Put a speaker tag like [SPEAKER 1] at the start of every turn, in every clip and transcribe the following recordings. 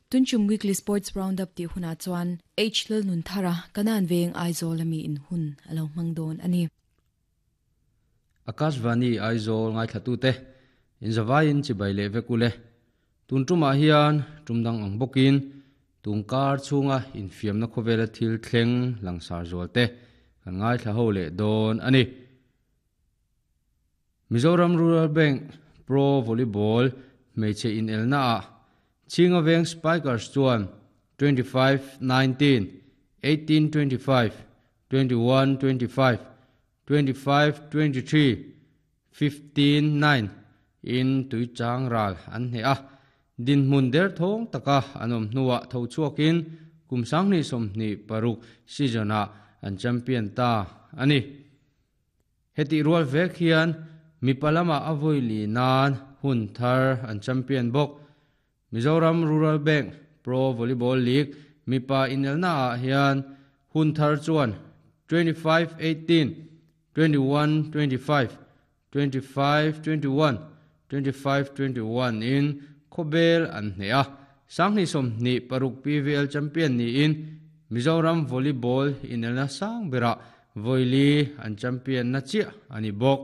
[SPEAKER 1] Tunchum Weekly Sports Roundup tih hunah chuan H Lalnunthara, Kanan Veng Aizawl ami in hun a lo hmang dawn a ni.
[SPEAKER 2] Akashvani Aizawl ngaithlatute inzavaiin chibai leh vek ule. Tun tumah hian tum dang ang bawkin tun kar chhunga infiamna khawvela thil thleng langsar zual te kan ngaithla ho leh dawn a ni. Mizoram Rural Bank Pro Volleyball hmeichhe inelnaah Chhinga Veng Spikers chuan 25-19, 18-25, 21-25, 25-23, 15-9 in tuichang ral an hneh a, dinhmun derthawng taka an awm hnuah tho chhuakin kum 2026 season-ah an champion ta a ni. Hetih rual vek hian mipa lamah a vawi li nan hun thar an champion bawk. Mizoram Rural Bank Pro Volleyball League mipa inelnaah hian hun thar chuan 25-18, 21-25, 25-21, 25-21 in khawbel an hneh a. 2026 PVL champion niin Mizoram Volleyball inelna sang berah vawi li an champion na chiah a ni bawk.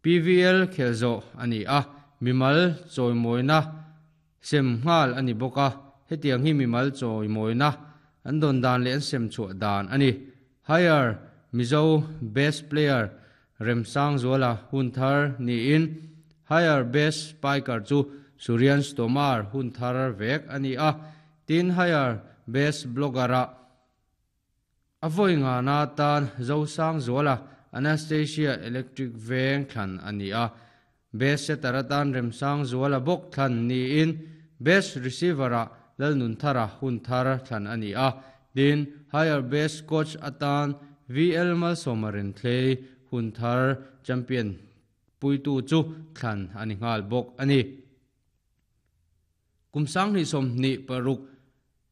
[SPEAKER 2] PVL khelh zawh a ni a, mimal chawimawina sem nghal a ni bawk a, hetiang hi mimal chawimawina an dawn dan leh an sem chhuah dan a ni. Higher Mizo Best Player Remsangzuala hun thar niin Higher Best Spiker chu Surian Stomar hun thar vek a ni a, tin Higher Best Blogger-ah A vawi ngana tan Zosangzuala Anastasia Electric Veng thlan a ni a, Best Setter atan Remsangzuala bawk thlan niin Best Receiver-ah Lalnunthara hun thar thlan a ni a, tin Higher Best Coach atan VL Malsawma Renthlei hun thar champion puitu chu thlan a ni nghal bawk a ni. Kum 2026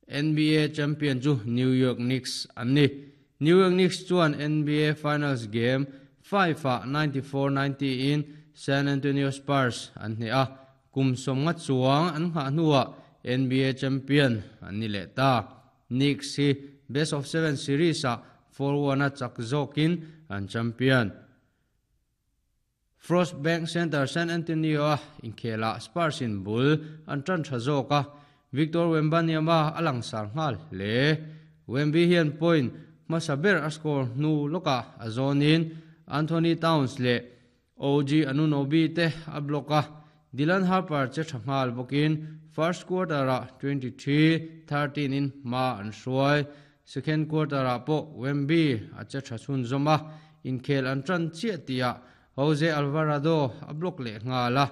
[SPEAKER 2] NBA champion chu New York Knicks an ni. New York Knicks chuan NBA Finals Game 5-ah 94-90 in San Antonio Spurs an hneh a, kum 50 chuang an nghah hnuah NBA champion an ni leh ta. Knicks hi best of seven series-ah 4-1 a chak zawkin an champion. Frost Bank Center San Antonio-a inkhelah Spurs in bul an tan tha zawk a, Victor Wembanyama a langsar nghal hle. Wemby hian point hmasa ber a score hnu lawkah a zawnin Anthony Towns leh OG Anunoby te a block a, Dylan Harper che tha nghal bawkin first quarter-ah 23-13 in hma an hruai. Second quarter-ah pawh Wemby a che tha chhunzawm a, inkhel an tan chiah tihah Jose Alvarado a block leh nghal a,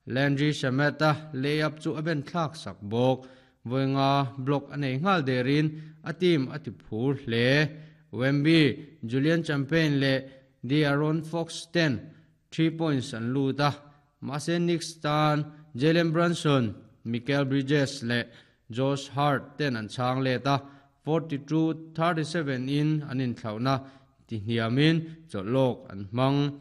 [SPEAKER 2] Landry Shamet-a lay-up chu a ben thlak sak bawk. Vawi nga block a nei nghal derin a team a ti phur hle. Wemby, Julian Champagne leh De'Aaron Fox ten 3 points an lut a, mahse Knicks tan Jalen Brunson, Mikal Bridges leh Josh Hart ten an chhang let a, 42-37 in an inthlauhna tihniamin chawlhlawk an hmang.